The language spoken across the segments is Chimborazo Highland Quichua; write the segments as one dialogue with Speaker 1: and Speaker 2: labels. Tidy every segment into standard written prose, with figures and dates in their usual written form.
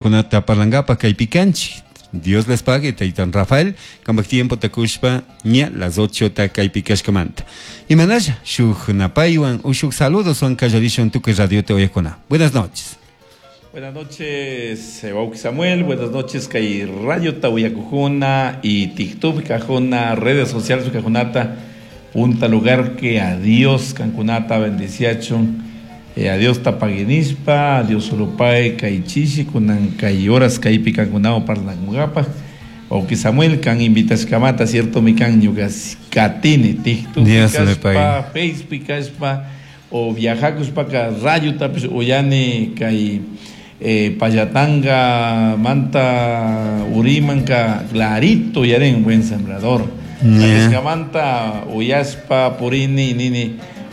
Speaker 1: Kunata parlangapaj kaypi kanchik. Dios les pague, taytan Rafael, kambaj tiempota kushpa ña las 8 ta kaypi kashkamanta. Imanalla, shuj napaywan o shuj saludoswan kallarishun tukuy radiota uyajkuna. Buenas noches.
Speaker 2: Buenas noches, wawki Samuel. Buenas noches, kay radiota uyakujuna y TikTok kajuna, redes sociales kajunata. Punta lugar que a Dios kankunata bendiciachun. A Dios tapaguinispa, a Dios solopae kay chishi kunan kay horas kaypi kankunawan parlankungapaj. Wawki Samuel kan invitashkamata, cierto mi kan ñuka katini TikTok
Speaker 1: Dios le
Speaker 2: kashpa,
Speaker 1: pague.
Speaker 2: Facebook kashpa, o viajakushpaka radiotapish uyani kay Pallatanga, Manta, Urimanka, clarito uyarin Buen Sembrador. Manta uyashpa purini nini.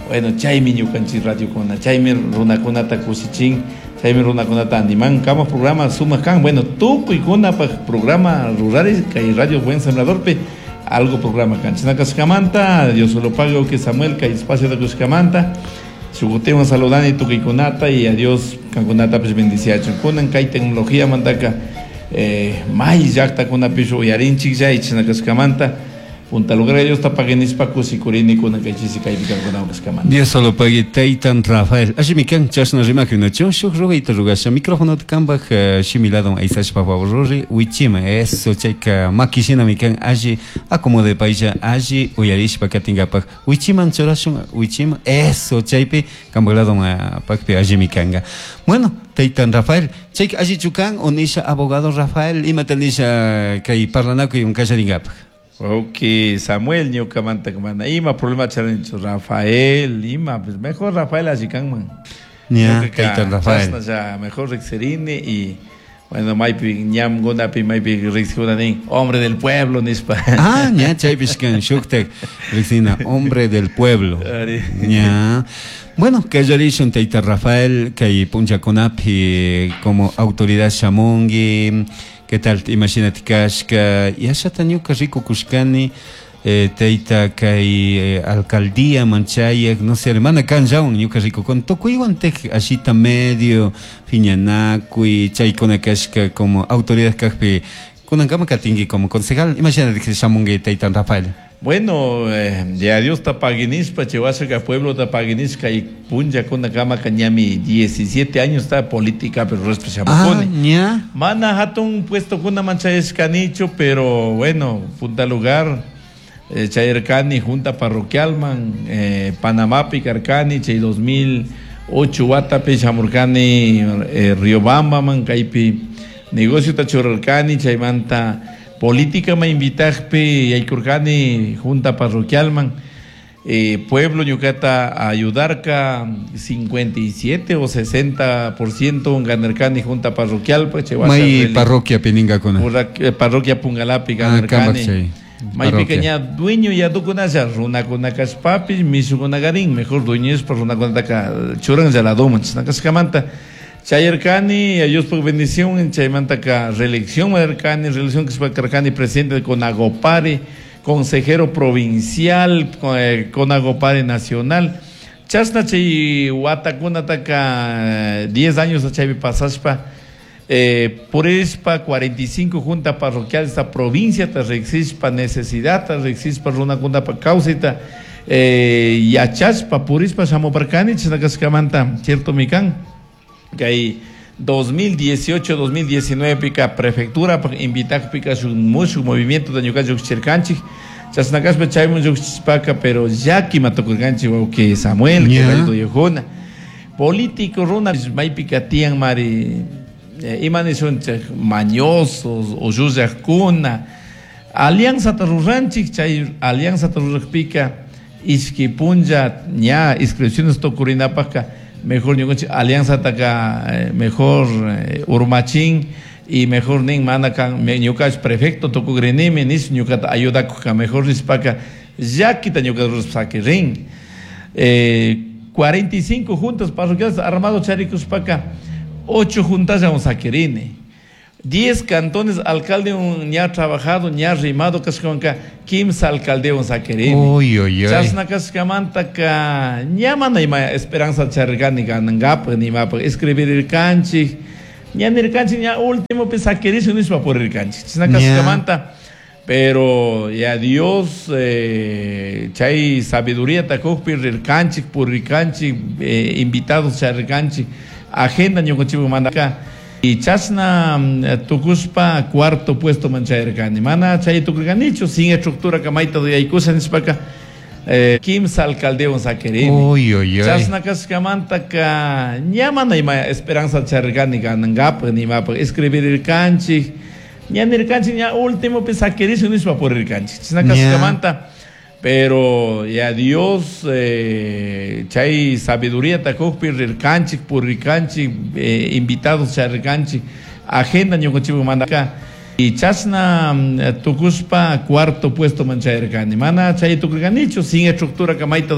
Speaker 2: Bueno, chaymi ñukanchik radiokuna, chaymi runakunata kushichin, chaymi runakunata animan. Kama programa sumak kan. Bueno, tukuykunapaj programa rurari kay Radio Buen Sembradorpi algo programa kan. Chinakashkamanta, Dios solo pague que Samuel kay espacio de kushkamanta. Shukutiwan saludani tukuykunata y a Dios kankunata pues bendiciachun. Kunan kay tecnología mandaka may llaqtakunapish uyarinchik chay chinakashkamanta. Punta lugar Dios tapaguinispa kusikurini kunan kay chisi kaypi kankunawan kashkamanta.
Speaker 1: Dios solo pague taytan Rafael. Allimi kan chashna rimakuna shuj rugayta rugasha micrófono kambaj shimiladon aysashpa favor ruri wichima eso chayka makishinami kan alli acomode paylla alli uyarishpa katingapaj wichiman churashun wichima eso chaypi kambaj ladon pakpi allimi kanga. Bueno, taytan Rafael, chayka allichu kan o nisha abogado Rafael imata nisha kay parlanakuy unkallaringapaj.
Speaker 2: Ok, Samuel ñukamanta mana ima problema charinchu Rafael ima pues mejor Rafael así kanman.
Speaker 1: Ya,
Speaker 2: Ñuka
Speaker 1: taytan Rafael.
Speaker 2: chashna ya mejor riqsirini y bueno maypi ñamkunapi maypi riqsikunanin hombre del pueblo nispa.
Speaker 1: Ah, ña chaypish kan shuktak riqsina hombre del pueblo.
Speaker 2: Ari.
Speaker 1: Ña. Bueno, kallarishun tayta Rafael kay punllakunapi como autoridad shamunki, ¿qué tal imashinati kashka? Yashata ñuka rikukushkani, tayta kay alcaldía manchayak, no sé, hermana kanllawan ñuka rikukun, tukuywan tek ashita medio phiñanakuy chaykuna kashka como autoridad kajpi kunankama katinki como concejal, imashinati shamunki tayta Rafael.
Speaker 2: Bueno, ya Dios tapaguinispa, Chihuahua pueblo tapaguinisca y punlla con la cama cañami 17 años está política, pero resto se
Speaker 1: Ah,
Speaker 2: llama
Speaker 1: ña.
Speaker 2: Mana hatun puesto con una mancha es canicho, pero bueno, punta lugar, Chayercani, junta parroquial man, Panamá, Picarcani, chay 2008, Guatape, Chamurcani, Riobamba, man, Caipi, negocio tachurarcani, chaymanta. Política me invitajpi yaykurkani junta parroquial man, pueblo ñukata ayudarka 57 o 60% ganarkani junta parroquial pues, che,
Speaker 1: May
Speaker 2: washa
Speaker 1: parroquia piningakuna.
Speaker 2: Parroquia Pungalapi
Speaker 1: Ah,
Speaker 2: ganarkani.
Speaker 1: kambaj chay.
Speaker 2: May
Speaker 1: Parroquia.
Speaker 2: pequeña dueño ya tukunasha runakuna kashpapish mishukuna garin mejor dueño es por runakunataka churan ya la doman chinakashkamanta. Chayarkani, a Dios por bendición, chaymantaka reelección madarkani, reelección que se carcani, presidente de Conagopare, consejero provincial, Conagopare nacional. Chasna chay watakunataka 10 años a chaypi pasashpa, purispa 45 junta parroquial esta provincia ta rexispa necesidad ta rexispa runakunapa kawsayta yachashpa purispa shamuparkani chinakashkamanta, cierto mikan. Que hay 2018, 2019 pica prefectura pa invitar pica su mucho movimiento de ñuka yuxchirkanchik. Chasnakashpa chaymun yuxchishpaka, pero ya que matokurkanchik, wawqi Samuel, que rayto yujuna. Político runa, maypika tiyan mari ima nishunchik, mañosos o llullakuna. Alianza tarurranchik, chay alianza tarurrakpika, ishki punlla ña inscripciones tokurinapaka, mejor ñukanchik alianza taka mejor urmachin y mejor nin mana kan, me, ñuka prefecto tukugrinimi, nis ñukata ayudakuka, mejor nispaka, llakita ñuka ruraspakirin. 45 juntas parroquiales armado charikuspaka, 8 juntas ya un saquirini. 10 cantones, alcalde un ña trabajado, ña rimado, kashkanka, 15 alcalde un saquirini.
Speaker 1: Uy, uy, uy.
Speaker 2: Chasna kashkamanta ka, ña mana ima esperanza chargani ganangapa, ni mapa, escribir el canchi, Ña nirkanchik ña últimopi sakirishun nishpa purirkanchik. Chashna kashkamanta pero ya Dios chay sabiduría kukpi rirkanchik, purirkanchik, invitados charirkanchik, agenda ñukanchikpak mandaka. Y chashna tukushpa cuarto puesto man chayarkani. Mana chay tukurkanichu, sin estructura mayta yaykusha nishpaka kimsa alcaldewan sakirini.
Speaker 1: Uy, uy, uy.
Speaker 2: Chashna kashkamantaka ña mana ima esperanza charirkani ganankapak nimapak escribirirkanchik. Ña nirkanchik ña últimopi sakirishun nishpa purirkanchik. Chashna kashkamanta pero ya Dios chay sabiduría kukpi rirkanchik, purirkanchik, invitados charirkanchik, agenda ñukanchikpak mandaka. Y chashna tukushpa cuarto puesto man chayarkani. Mana chay tukurkanichu, sin estructura mayta.